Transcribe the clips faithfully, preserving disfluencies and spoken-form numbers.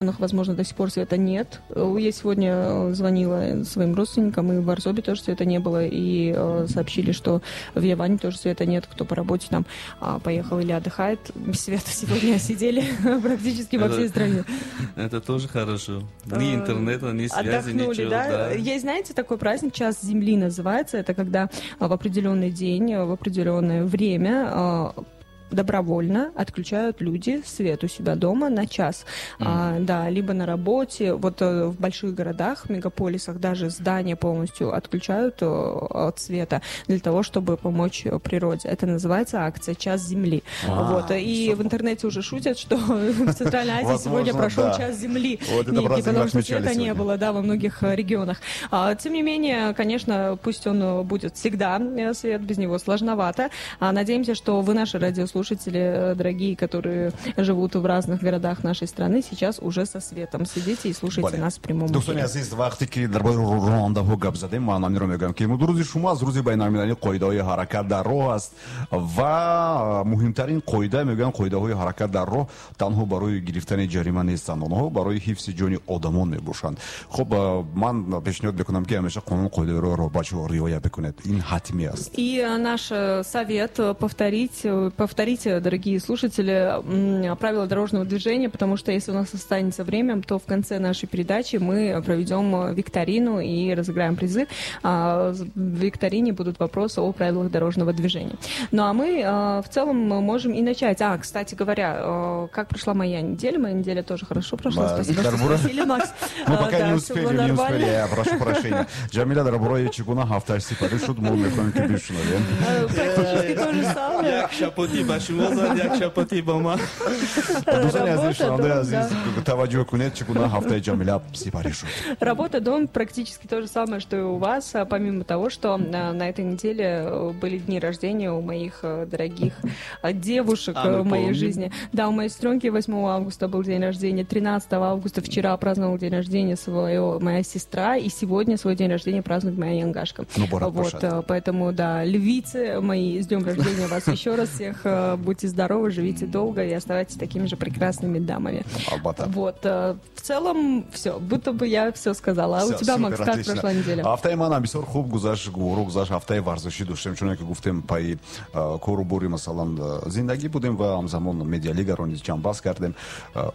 Возможно, до сих пор света нет. Я сегодня звонила своим родственникам, и в Арзобе тоже света не было, и сообщили, что в Яване тоже света нет, кто по работе там поехал или отдыхает. Без света сегодня сидели практически во всей стране. Это тоже хорошо. Ни интернета, ни связи, отдохнули, ничего. Да? Да. Есть, знаете, такой праздник, Час Земли называется. Это когда в определенный день, в определенное время добровольно отключают люди свет у себя дома на час. Mm. А, да, либо на работе. Вот в больших городах, мегаполисах даже здания полностью отключают от света для того, чтобы помочь природе. Это называется акция «Час Земли». А, вот. И в интернете уже шутят, что в Центральной Азии сегодня прошел да. Час Земли. Вот это некий, потому что света не было, да, во многих регионах. А, тем не менее, конечно, пусть он будет всегда свет, без него сложновато. А, надеемся, что вы, наши радиослушатели, слушатели, дорогие, которые живут в разных городах нашей страны, сейчас уже со светом. Сидите и слушайте Бале. Нас в прямом эфире. Дӯстони азиз, вақте ки дар бораи ронандаҳо гап задем, ман ҳаминро мегӯям, ки рӯзи шумо аз рӯзи байналмилалии қоидаҳои ҳаракат дар роҳ аст ва муҳимтарин қоида, мегӯянд, қоидаҳои ҳаракат дар роҳ танҳо барои гирифтани ҷарима нестанд, онҳо барои ҳифзи ҷони одамон мебошанд. Хуб, ман пешниҳод мекунам, ки ҳамеша қонун қоидаи роҳро, бачаҳо, риоя бикунед, ин ҳатмӣ аст. И наш совет повторить, повторить, дорогие слушатели, правила дорожного движения, потому что если у нас останется время, то в конце нашей передачи мы проведем викторину и разыграем призы. В викторине будут вопросы о правилах дорожного движения. Ну а мы в целом можем и начать. А, кстати говоря, как прошла моя неделя? Моя неделя тоже хорошо прошла. Спасибо, что спросили, Макс. Мы пока не успели, не успели, я прошу прощения. Ҷамила дар бораи чӣ гуна ҳафтааш сипарӣ шуд, мо мехоҳем, ки бишунавем. Практически то же самое. Як шапоти ба шумо зад, як шапоти ба ман. Дӯстони азиз, шунавандаи азиз, таваҷҷӯҳ кунед, чӣ гуна ҳафтаи Ҷамила сипарӣ шуд. Работа, дом, практически то же самое, что и у вас, помимо того, что на этой неделе были дни рождения у моих дорогих девушек а, в моей жизни. Да, у моей сестренки восьмого августа был день рождения, тринадцатого августа вчера праздновал день рождения свое моя сестра, и сегодня свой день рождения празднует моя янгашка. Ну, вот, поэтому, да, львицы мои, с днем рождения вас еще раз всех. Будьте здоровы, живите долго и оставайтесь такими же прекрасными дамами. Албатта. Вот, в целом, все, будто бы я все сказала. А всё, у тебя, супер, Макс, как отлично. Прошла неделя? Ҳафтаи манам бисёр хуб гузашт, гуворо гузашт. Ҳафтаи варзишӣ доштем, чуне ки гуфтем, пайи кору бори, масалан, зиндагӣ будем ва ҳамзамон медиалигаро низ ҷамъбаст кардем.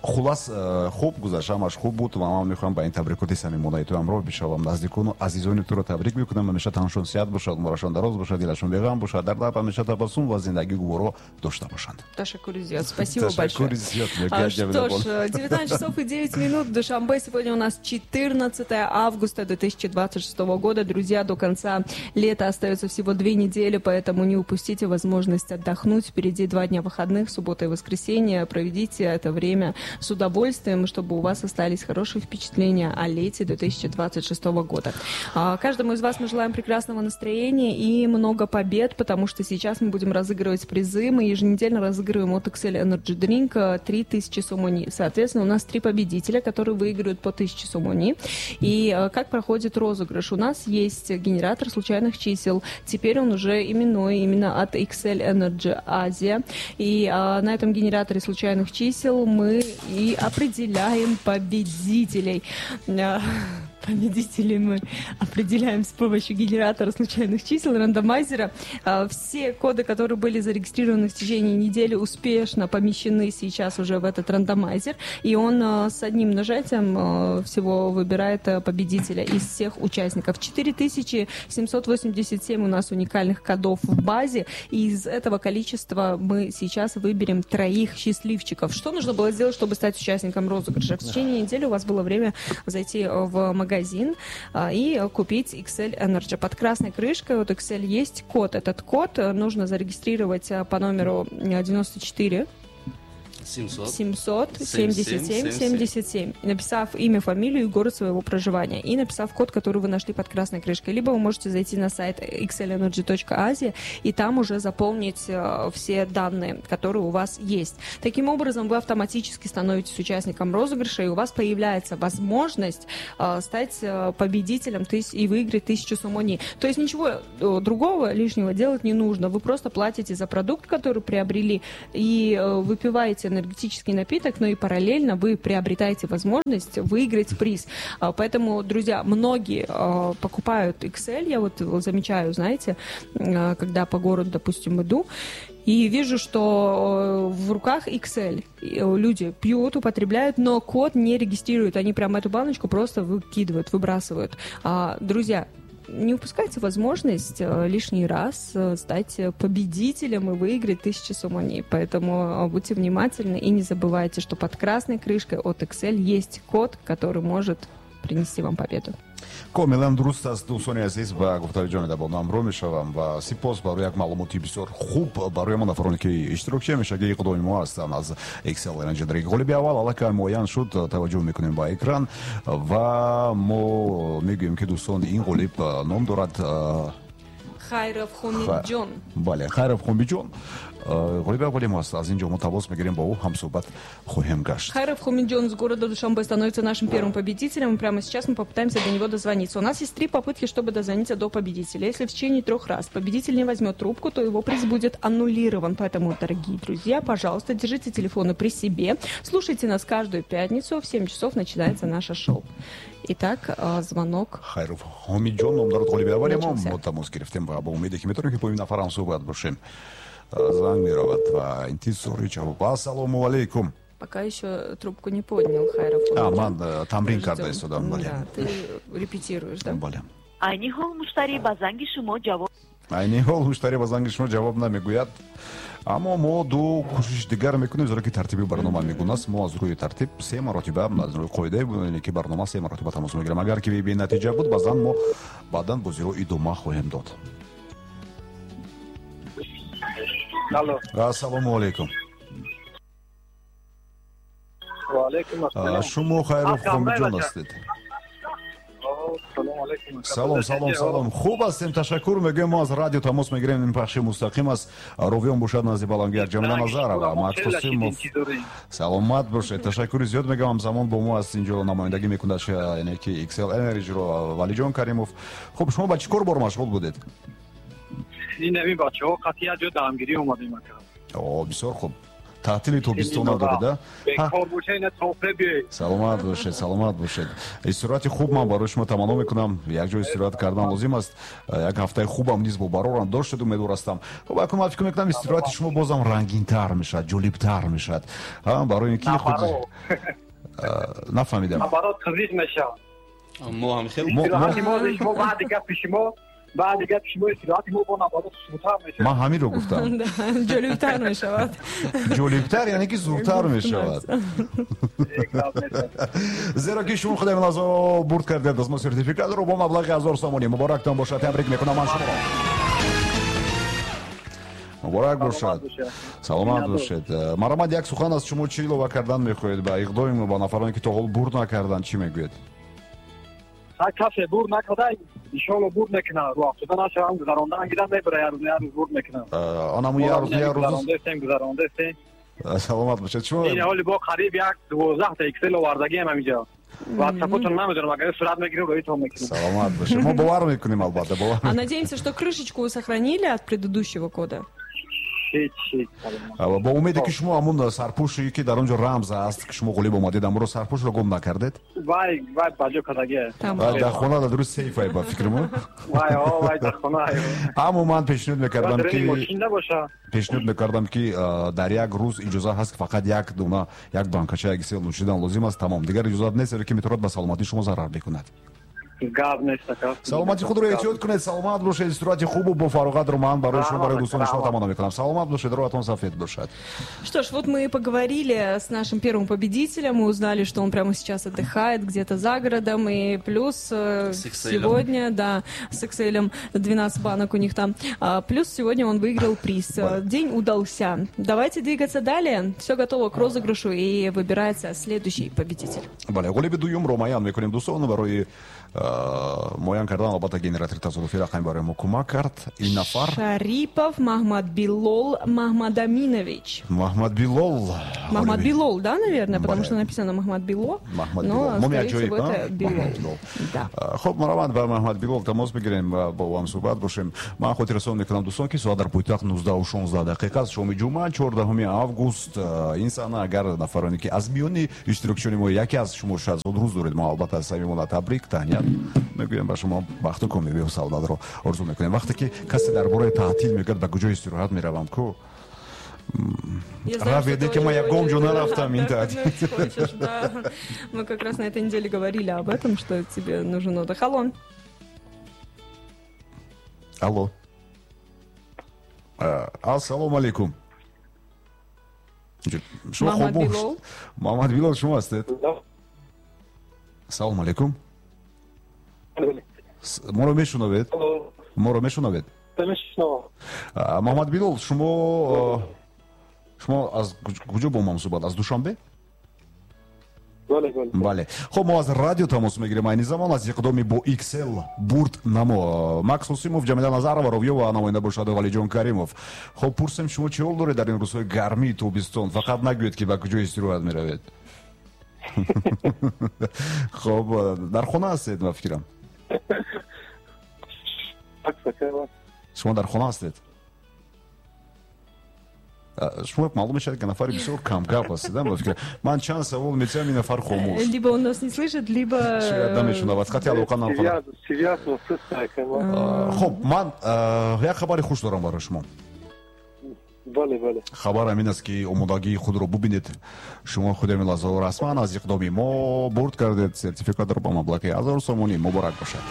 Хулас, хуб гузашт, ҳамаш хуб буд ва ман мехоҳам ба ин табрикоти самимонаи ту ҳамроҳ бишавам. Наздикону азизони туро табрик мекунам. Ҳамеша танашон сиҳат бошад, умрашон дароз бошад, дилашон беғам бошад, дар лаб ҳамеша табассум ва зиндагии гуворо дошта бошанд. Ташаккури зиёд. Спасибо большое. Зиёд, а, что ж, девятнадцать часов и девять минут в Душанбе. Сегодня у нас четырнадцатое августа две тысячи двадцать шестого года. Друзья, до конца лета остается всего две недели, поэтому не упустите возможность отдохнуть. Впереди два дня выходных, суббота и воскресенье. Проведите это время с удовольствием, чтобы у вас остались хорошие впечатления о лете две тысячи двадцать шестого года. А, каждому из вас мы желаем прекрасного настроения и много побед, потому что сейчас мы будем разыгрывать призы. Мы еженедельно разыгрываем от Excel Energy Drink три тысячи сомони. Соответственно, у нас три победителя, которые выигрывают по тысяче сомони. И как проходит розыгрыш? У нас есть генератор случайных чисел. Теперь он уже именной, именно от Excel Energy Asia. И а, на этом генераторе случайных чисел мы и определяем победителей. Победителей мы определяем с помощью генератора случайных чисел, рандомайзера. Все коды, которые были зарегистрированы в течение недели, успешно помещены сейчас уже в этот рандомайзер. И он с одним нажатием всего выбирает победителя из всех участников. четыре тысячи семьсот восемьдесят семь у нас уникальных кодов в базе. И из этого количества мы сейчас выберем троих счастливчиков. Что нужно было сделать, чтобы стать участником розыгрыша? В течение недели у вас было время зайти в магазин магазин и купить Excel Energy. Под красной крышкой от Excel есть код. Этот код нужно зарегистрировать по номеру девяносто четыре семьсот семьдесят семь семьдесят семь, написав имя, фамилию и город своего проживания, и написав код, который вы нашли под красной крышкой. Либо вы можете зайти на сайт икс эль энерджи точка азия и там уже заполнить все данные, которые у вас есть. Таким образом, вы автоматически становитесь участником розыгрыша, и у вас появляется возможность стать победителем и выиграть тысячу сомони. То есть ничего другого лишнего делать не нужно. Вы просто платите за продукт, который приобрели, и выпиваете энергетический напиток, но и параллельно вы приобретаете возможность выиграть приз. Поэтому, друзья, многие покупают Excel, я вот замечаю, знаете, когда по городу, допустим, иду, и вижу, что в руках Excel. Люди пьют, употребляют, но код не регистрируют. Они прямо эту баночку просто выкидывают, выбрасывают. Друзья, не упускайте возможность лишний раз стать победителем и выиграть тысячу сомони. Поэтому будьте внимательны и не забывайте, что под красной крышкой от Excel есть код, который может принести вам победу. Комилан дуруст аст, дӯстони азиз, ба гуфтаи ҷонидабон ҳамроҳ мешавам ва сипос барои як маълумоти бисёр хуб барои мо нафароне ки иштирокчӣ ҳамешагии иқдоми мо ҳастанд аз Excel Energy Drink. Ғолиби аввал аллакай муайян шуд, таваҷҷӯҳ мекунем ба экран ва мо мегӯем ки дӯстон, ин ғолиб ном дорад Хайров Хомиджон. Бале, Хайров Хомиджон ғолиби аввали мо аст. Аз ин ҷо мо тамос мегирем, бо ӯ ҳамсӯҳбат хоҳем гашт. Хайров Хомиджон из города Душанбе становится нашим первым победителем. И прямо сейчас мы попытаемся до него дозвониться. У нас есть три попытки, чтобы дозвониться до победителя. Если в течение трех раз победитель не возьмет трубку, то его приз будет аннулирован. Поэтому, дорогие друзья, пожалуйста, держите телефоны при себе. Слушайте нас каждую пятницу. В семь часов начинается наше шоу. Итак, звонок. Хайров Хомиджон ном дорад ғолиби аввали мо. Мо тамос гирифтем ва бо умеде ки метавонем ки бо ин нафар ҳамсӯҳбат бошем. Занг меравад ва интизори ҷавоб. Ассалому алайкум. Пока еще трубку не поднял Хайров Хомиджон. А, ман тамрин карда истодам, бале. Да, ты репетируешь, да? Бале. Айни ҳол муштари ба занги шумо ҷавоб Айни ҳол муштари ба занги шумо ҷавоб намегӯяд. Аммо мо ду кӯшиши дигар мекунем, зеро ки тартиби барнома мегунаст. Мо аз рӯи тартиб се маротиба, аз рӯи қоидаи ки барнома се маротиба тамос мегирем. Агар ки бенатиҷа буд, баъзан мо баъдан бозиро идома хоҳем дод. Алло. Ассалому алайкум. Ва алайкум ассалом. Шумо Хайров Хомиджон ҳастед? Салом, салом, салом. Хуб ҳастем, ташаккур мегӯем. Мо аз радио тамос мегирем, ин пахши мустақим аст. Ровиён бошад назди балангияр Ҷамила Назарова, Маҳмад Қосимов. Саломат бошед. Ташаккури зиёд мегӯям. Ҳамзамон бо мо аст инҷо намояндагӣ мекунад, яъне ки Excel Energy-ро Валиҷон Каримов. Хуб, шумо ба чӣ кор бор машғул будед? Ин ҳамин бачаҳо қатъия ҷо дамгирӣ омадем ака. О, бисёр хуб. Таътили тобистона доред, а? Бекор бошед, ина тофе биёед. Саломат бошед, саломат бошед. Истироҳати хуб ман барои шумо таманно мекунам. Як ҷо истироҳат кардан лозим аст. Як ҳафтаи хубам низ бо барорам доштед, умедвор ҳастам. Хуб, акнун ман фикр мекунам истироҳати шумо бозам рангинтар мешавад, ҷолибтар мешавад. Барои ин ки худ нафаҳмидам. Барот қизиқ мешавад. Мо ҳам хеле истироҳати мо шумо баъди гапи шумо баъди гапи шумо истироҳати мо бо набарот зудтар мешавад. Ман ҳаминро гуфтам. Ҷолибтар мешавад. Ҷолибтар яъне ки зудтар мешавад. Зеро ки шумо худаи лаҳза бурд кардед аз мо сертификатро бо маблағи ҳазор сомонӣ. Муборактон бошад, табрик мекунам ман шуморо. Муборак бошад, саломат бошед. Марамад, як сухан аз шумо чӣ илова кардан мехоҳед ба иқдоми ба нафароне ки то ҳол бурд накарданд, чӣ мегӯед? Касе бурд накарда, иншоалло бурд мекунад. Рӯ афтода нашавам, гузарондан гирам, мебара як рӯз, як рӯз бурд мекунам. Анаму як рӯз, як рӯз гузарондастем, гузарондастем. Саломат бошед. Шумо ин ҳоли бо қариб як дувоздаҳ та Excel овардагиам ҳаминҷо. WhatsApp-тон намедонам, агар сурат мегирем, рӯитон мекунем. Саломат бошед. Мо бовар мекунем, албатта, бовар. А надеемся, что крышечку вы сохранили от предыдущего кода. Бо умеде ки шумо ҳамун сарпӯше ки дар он ҷо рамз аст, ки шумо ғолиб омадед, амро сарпӯшро гум накардед? Вай, вай, ба ҷо кардагӣ. Дар хона дар дуруст сейф ай, ба фикри мо. Вай, о, вай, дар хона. Аммо ман пешниҳод мекардам ки пешниҳод мекардам ки дар як рӯз иҷоза ҳаст ки фақат як дона, як банкача Excel нӯшидан лозим аст, тамом. Дигар иҷозат нест, зеро ки метавонад ба саломатии шумо зарар бикунад. Гап нест, ака. Саломати худро эҳтиёт кунед, саломат бошед, истироҳати хубу бо фароғатро ман барои шумо, барои дӯстони шумо таманно мекунам. Саломат бошед, роҳатон сафед бошад. Что ж, вот мы и поговорили с нашим первым победителем, мы узнали, что он прямо сейчас отдыхает где-то за городом, и плюс сегодня, да, с Excel двенадцать банок у них там, плюс сегодня он выиграл приз. День удался. Давайте двигаться далее. Все готово к розыгрышу и выбирается следующий победитель. Бале, ғолиби дуюмро муайян мекунем, дӯстон, барои Муайян кардан, албатта, генератори тасодуфии рақамӣ барои мо кӯмак кард. Ин нафар Шарипов Маҳмадбилол Маҳмадаминович. Маҳмадбилол. Маҳмадбилол, да, наверное, потому что написано Маҳмадбило, но, скорее всего, это Билол. Хуб, маромад ба Маҳмадбилол тамос бигирем ва бо ӯ ҳам суҳбат бошем. Ман хотиррасон мекунам, дӯстон, ки соат дар пойтахт нуздаҳу шонздаҳ дақиқа аст, шоми ҷумъа, чордаҳуми август. Ин саҳна агар нафароне ки аз миёни иштирокчиёни мо яке аз шумо шояд зодрӯз доред, мо албатта самимона табрик, таҳният мегӯем ба шумо, бахту комёбию саодатро орзу мекунем. Вақте ки касе дар бораи таътил мегӯяд, ба куҷо истироҳат меравам, ку раведе ки ман ягон ҷо нарафтам ин таътил. Мы как раз на этой неделе говорили об этом, что тебе нужен отдых. Алло. Алло. Ассалому алейкум. Маҳмадбилол. Маҳмадбилол шумо ҳастед? Салому алейкум. Моро мешунавед? Моро мешунавед? Маҳмадбилол, шумо шумо аз куҷо бо мо суҳбат? Аз Душанбе? Бале. Хуб, мо аз радио тамос мегирем айни замон аз иқдоми бо икс эл бурд намо. Макс Ҳусимов, Ҷамила Назарова, Ровиё ва намоянда бошад Валиҷон Каримов. Хуб, пурсем, шумо чӣ ҳол доред дар ин рӯзҳои гармии тобистон? Фақат нагӯед, ки ба куҷо истироҳат меравед. Хуб, дар хона ҳастед, ман фикрам. Шумо дар хона ҳастед? Шумо маълум мешавад, ки нафари бисёр камгап ҳастед. Ман чанд савол метиҳам, ин нафар хомӯш. Либо он нас не слышит, либо шояд намешунавад. Хати алоқа намехонад. Хуб, ман як хабари хуш дорам барои шумо. Бале, бале. Хабар ҳамин аст, ки омодагии худро бубинед. Шумо худи ҳамин лаҳзаҳо расман аз иқдоми мо бурд кардед сертификатро ба маблағи ҳазор сомонӣ. Муборак бошад.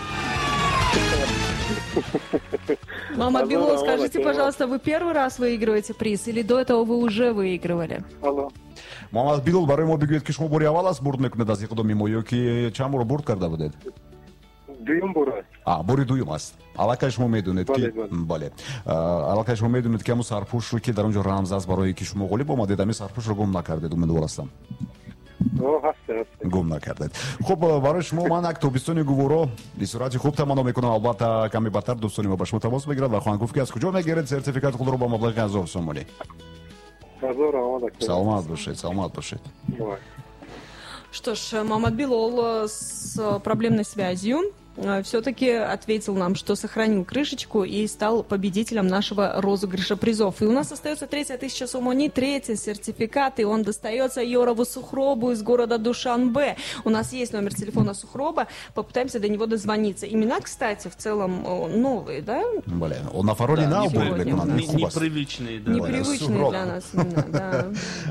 Маҳмадбилол, скажите, пожалуйста, вы первый раз выигрываете приз или до этого вы уже выигрывали? Алло. Маҳмадбилол, барои мо бигӯед, ки шумо бори аввал аст бурд мекунед аз иқдоми мо ё ки чанд бор бурд карда будед? Дуюм бор аст. А, бори дуюм аст. Аллакай шумо медонед, ки бале. Аллакай шумо медонед, ки ҳамун сарпӯшро, ки дар он ҷо рамз аст барое ки шумо ғолиб омадед, ҳамин сарпӯшро гум накардед, умедвор ҳастам. Гум накардед. Хуб, барои шумо ман як тобистони гуворо истироҳати хуб таманно мекунам. Албатта, каме баъдтар дӯстони мо ба шумо тамос мегирад ва хоҳанд гуфт, ки аз куҷо мегиред сертификати худро ба маблағи ҳазор сомонӣ. Саломат бошед, саломат бошед. Что ж, Маҳмадбилол с проблемной связью все-таки ответил нам, что сохранил крышечку и стал победителем нашего розыгрыша призов. И у нас остается третья тысяча сомони, третий сертификат, и он достается Йорову Сухробу из города Душанбе. У нас есть номер телефона Сухроба, попытаемся до него дозвониться. Имена, кстати, в целом новые, да? Блин, он на фароне на непривычные, да. Непривычные для нас имена, да.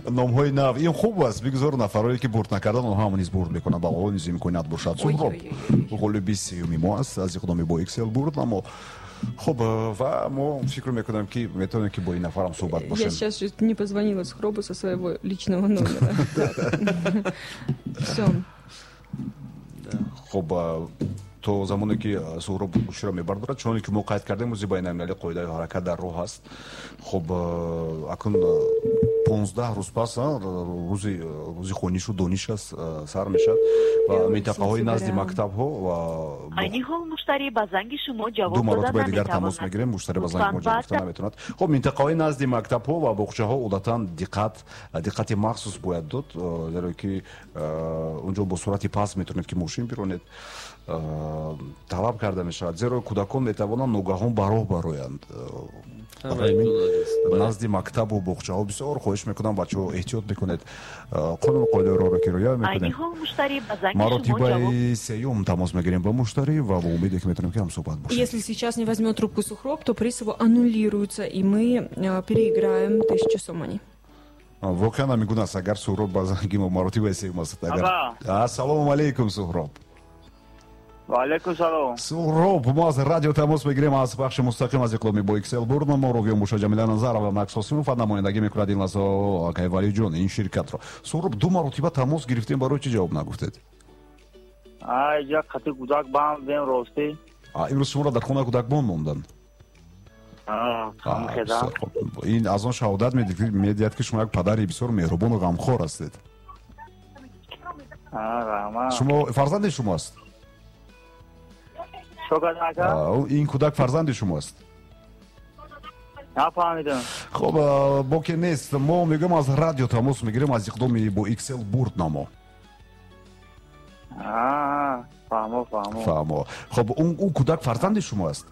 Номҳои нав. Ин хуб аст, бигзор нафароне ки бурд накардан, онҳо ҳам низ бурд мекунанд, ба онҳо низ имконият бошад. Сухроб ғолиби сеюми мо аст аз иқдоми бо икс эл бурд намо. Хуб, ва мо фикр мекунам, ки метавонем, ки бо ин нафарам суҳбат бошем. Я сейчас чуть не позвонила Сухробу со своего личного номера. Все. Хуб, то замоне ки Суҳроб гӯширо мебардорад, чуноне ки мо қайд кардем, рӯзи байналмилалии қоидаи ҳаракат дар роҳ аст. Хуб, акнун понздаҳ рӯз пас рӯзи рӯзи хонишу дониш аст, сар мешавад ва минтақаҳои назди мактабҳо ва айни ҳол муштарӣ ба занги шумо ҷавоб ду маротиба дигар тамос мегирем, муштарӣ ба занги мо ҷавоб гуфта наметавонад. Хуб, минтақаҳои назди мактабҳо ва боғчаҳо одатан диққат диққати махсус бояд дод, зеро ки онҷо бо суръати паст метавонед ки мошин биронед. Талаб карда мешавад, зеро кӯдакон метавонанд ногаҳон ба роҳ бароянд. Назди мактабу боғчаҳо бисёр хоҳиш мекунам, бачаҳо, эҳтиёт мекунед, қонуну қоидаи роҳро ки риоя мекунед. Маротибаи сеюм тамос мегирем ба муштарӣ ва бо умеде, ки метавонем, ки ҳамсуҳбат бошем. Если сейчас не возьмет трубку Сухроб, то приз его аннулируется, и мы переиграем тысячу сомони. Воқеан ҳамин гуна аст, агар Суҳроб ба занги мо маротибаи сеюм аст. Агар ассалому алайкум, Суҳроб. Ва алайкум салом. Суҳроб, мо аз радио тамос мегирем, аз бахши мустақим аз иқдоми бо икс эл бурд мо Ровиё Муша, Ҷамила Назарова, Макс Ҳосимов ва намояндагӣ мекунад ин лаҳза акай Валиҷон ин ширкатро. Суҳроб, ду маротиба тамос гирифтем, барои чӣ ҷавоб нагуфтед? Ай, як қати кӯдак банд будем, ростӣ. Имрӯз шуморо дар хона кӯдакбон монданд? Ин аз он шаҳодат медиҳад, ки шумо як падари бисёр меҳрубону ғамхор ҳастед. Шумо фарзанди шумо аст? Ин кӯдак фарзанди шумо аст? Нафаҳмидам. Хуб, боке нест. Мо мегӯем аз радио тамос мегирем, аз иқдоми бо X L бурд намо. Фаҳмо, фаҳмо. Фаҳмо. Хуб, ӯ кӯдак фарзанди шумо аст?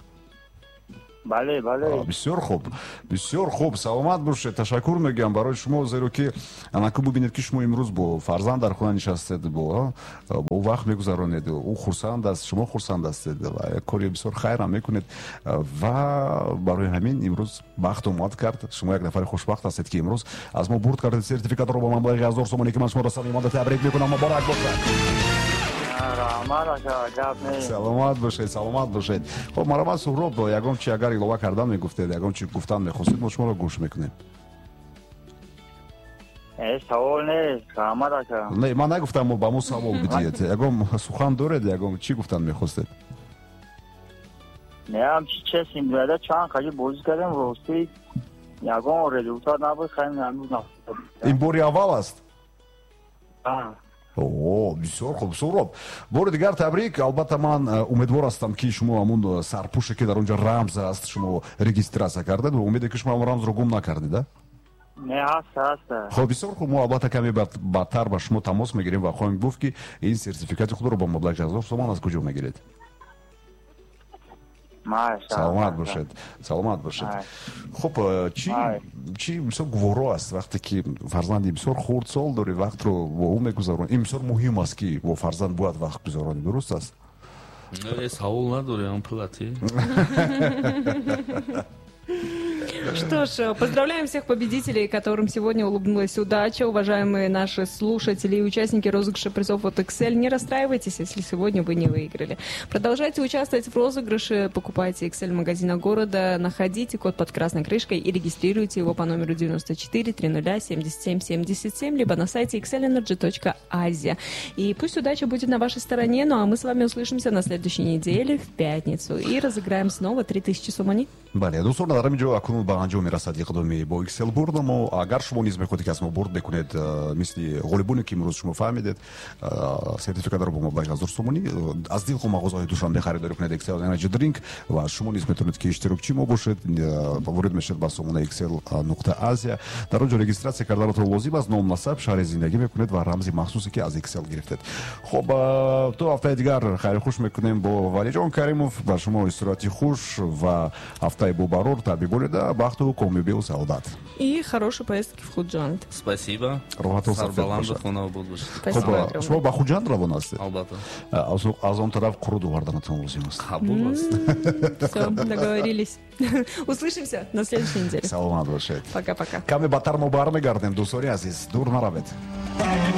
Бале, бале. Бисёр хуб, бисёр хуб. Саломат бошед. Ташаккур мегӯям барои шумо, зеро ки анаку бубинед, ки шумо имрӯз бо фарзанд дар хона нишастед, бо бо вақт мегузаронед, ӯ хурсанд аст, шумо хурсанд ҳастед ва як кори бисёр хайрам мекунед ва барои ҳамин имрӯз бахт омад кард. Шумо як нафари хушбахт ҳастед, ки имрӯз аз мо бурд кардед сертификатро ба маблағи ҳазор сомонӣ, ки ман шуморо самимона табрик мекунам. Муборак бошад. Саломат бошед, саломат бошед. Хуб, марҳамат, Суҳроб, ягон чи агар илова кардан мегуфтед, ягон чи гуфтан мехостед, мо шуморо гӯш мекунем. Савол нест, раҳмат ака. Не, ман нагуфтам ба мо савол бидиҳед. Ягон сухан доред, ягон чӣ гуфтан мехостед? Не, ҳамчи честно говоря, чанд хаҷи бозӣ кардем, рости ягон результат набуд, хайм ҳанӯз. Ин бори аввал аст? О, бисёр хуб, Суҳроб. Бори дигар табрик. Албатта, ман умедвор ҳастам, ки шумо ҳамун сарпӯше, ки дар он ҷо рамз аст, шумо регистрация кардед ва умеде, ки шумо ҳамун рамзро гум накардед, а? Не, ҳаст, ҳаст. Хуб, бисёр хуб. Мо албатта каме баъдтар ба шумо тамос мегирем ва хоҳем гуфт, ки ин сертификати худро бо маблағи ҳазор сомон аз куҷо мегиред. Саломат бошед, саломат бошед. Хуб, чӣ чӣ бисёр гуворо аст, вақте ки фарзанди бисёр хурдсол дорӣ, вақтро бо ӯ мегузаронӣ. Ин бисёр муҳим аст, ки бо фарзанд бояд вақт гузаронӣ, дуруст аст? Савол надорем, плати. Что ж, поздравляем всех победителей, которым сегодня улыбнулась удача. Уважаемые наши слушатели и участники розыгрыша призов от X L, не расстраивайтесь, если сегодня вы не выиграли. Продолжайте участвовать в розыгрыше, покупайте X L магазина города, находите код под красной крышкой и регистрируйте его по номеру девяносто четыре тридцать семьдесят семь семьдесят семь, либо на сайте xlenergy точка asia. И пусть удача будет на вашей стороне, ну а мы с вами услышимся на следующей неделе в пятницу и разыграем снова три тысячи сомони. Бале, дӯстон, дар ҳамин ҷо акнун ба анҷом мерасад иқдоми бо X L бурд. Мо агар шумо низ мехоҳед, ки аз мо бурд бикунед, мисли ғолибоне, ки имрӯз шумо фаҳмидед, сертификатро бо маблағи ҳазор сомонӣ, аз дилхоҳ мағозаҳои Душанбе харидорӣ кунед X L Energy Drink ва шумо низ метавонед, ки иштирокчи мо бошед. Ворид мешавед ба сомонаи xl нуқта asia, дар он ҷо регистрация карданатон лозим аст, ном, насаб, шаҳри зиндагӣ мекунед ва рамзи махсусе, ки аз X L гирифтед. Хуб, то ҳафтаи дигар хайри хуш мекунем бо Валиҷон Каримов. Ба шумо истироҳати хуш ва ҳафтаи бобарор табиболида, бахту комёбию саодат. И хорошей поездки в Худжанд. Спасибо. Роҳатон сафед Сарбаланду бошад. хонобод бошед. Спасибо Хуб, огромное. Шумо ба Хуҷанд равон ҳастед? Албатта. аз аз он тараф қуруд оварданатон лозим аст. Қабул аст. Все, договорились. Услышимся на следующей неделе. Саломат бошед. Пока-пока. Каме баъдтар мо бармегардем, дӯстони азиз, дур наравед.